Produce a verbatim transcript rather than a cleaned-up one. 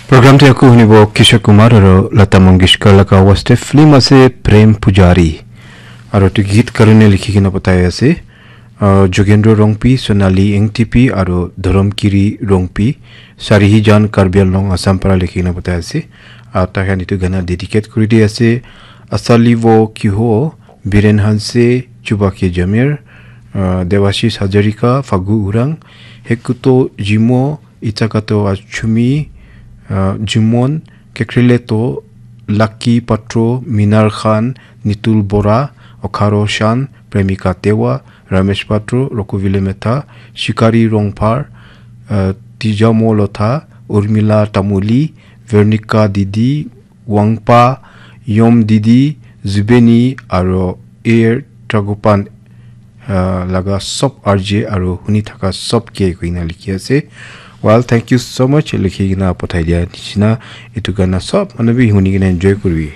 Program te aku hunibo Kishore Kumar aro Lata Mangeshkar laga awaz te film ase Prem Pujari. Aro tu git karone likhi kena patai ase. Uh, Jogendra Rongpi, Sonali Engtipi aro Dhorom Kiri Rongpi. Sarihi Jan Karbi Anglong Assam para likhi kena patai ase. Aro takhan itu gana dedicate kuri di ase. Asali wo kiho, Biren Hanse, Chubake Jamir, uh, Devashish Hazarika, Fagu Urang, Hekuto Jimo, Itakato Achumi, uh, Jumon, Kekrileto, Lucky Patro, Minar Khan, Nitul Bora, Okharo Shan, Premika Tewa, Ramesh Patro, Rokuvile Metha, Shikari Rongphar, uh, Tijamo Lotha, Urmila Tamuli, Veronica Didi, Wangpa, Yom Didi, Zubeni, aro Air Tragopan, uh, laga sob R J aro huni thaka sob ke koina likhi ase. Well, thank you so much likhi kena pathai dia nishina. Itu gana sob manu bi huni kena enjoy kuribi.